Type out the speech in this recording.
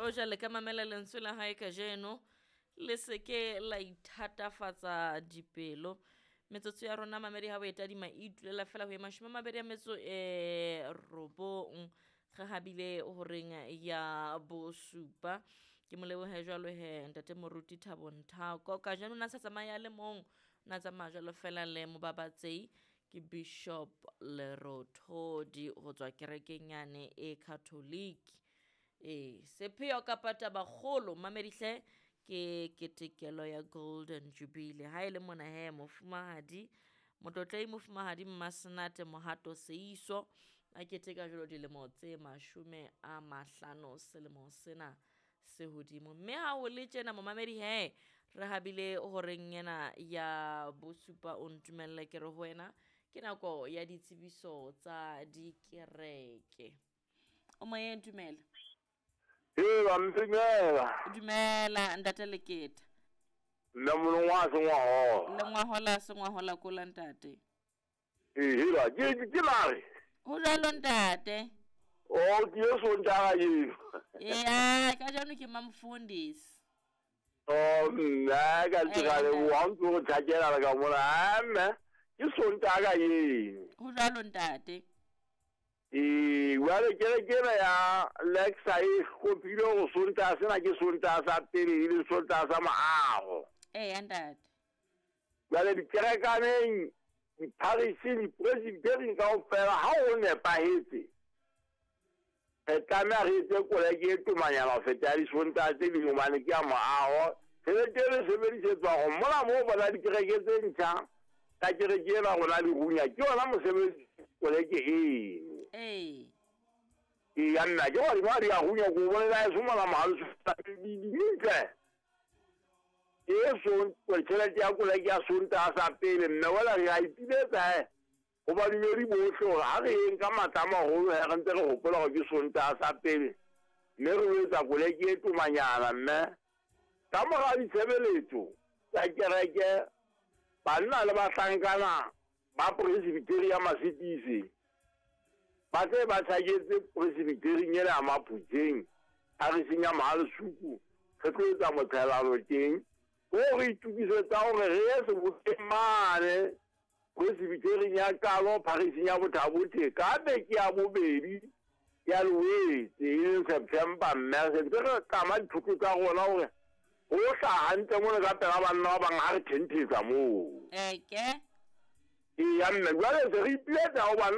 Hoja le ka mamela lentswe la hae kajeno, le se ke la ithatafatsa dipelo. Metsotso ya rona mamedi ha o e tadima e itulela fela ho ye 29 re habile horeng ya bosupa. Ke mo lebohe jwalo he ntate Moruti Thabo Nthako. Kajeno na sa tsamaya le mong, na tsamaya jwalo fela le mobabatsehi ke Bishop Lerothodi ho tswa kerekeng yane e Catholic. Ee, sepheo kapa tabakgolo mamedi hle ke ketekelo ya Golden Jubilee. Ha e le mona he mofumahadi Motlotlehi mofumahadi Mmasenate Mohato Seiso a keteka jwalo dilemo tse 50 selemo sena se hodimo. Mme ha ho le tjena momamedi he re habile horeng ena ya bosupa o ntumelle ke re ho wena ke nako ya ditsebiso tsa dikereke. O moyeng dumela. Ee, dumela. Dumela ntate Leketa. Nna molongwa a sengwahola. Lengwahola sengwahola kola ntate. Ee, hela ke lare. Ho jwalo ntate. Oh, ke ye Sontaga eo. Ee, kajeno ke mamfundisi. Oh, nna ka ntse leboha o ntse o tjhakela le ka mona. Ah, mme ke Sontaga eo. Ho jwalo ntate. Ee, jwale kereke ena ya Lexa e hlophile hore Sontaga sena ke Sontaga sa pele e leng Sontaga sa moaho. Ee, ntate. Jwale dikerekaneng, dipharising, dipresbitering kaofela ha ho nepahetse, re tlameha re etse koleke e tomanyana ho feta ya disontaha tse ding hobane ke ya moaho. Tjhelete e re sebedisetswa hore mona moo bona dikereke tse ntjha ka kereke ena rona le runya ke yona mosebetsi koleke eno. Ee. Ee, ya nna ke hore ba di a runya ko bolela e mona mohalo dintle. E son tjhelete ya koleke ya Sontaha sa pele mme wela re a ipiletsa ho badumedi bohle hore ha re yeng ka matla a maholo he re ntse re hopola hore ke Sontaha sa pele mme re etsa koleke e tomanyana mme ka mora ditshebeletso tsa kereke banna le bahlankana ba presbytery ya Masitise ba tse ba tjhaketse presbytery ena ya Maphutseng pharising ya Mohalesuku re tlo etsa motshelano teng ho re itokisetsa hore re ye sebokeng mane presbytery ya Kalo pharising ya Bothabothe ka beke ya bobedi ya Loetse e leng September mme re sentse re tlama dithoto tsa rona hore ho hlaha hantle mona ka pela banna ba bang ha re thentetsa moo. Eke. Ee, ya mme jwale se re ipiletsa ho banna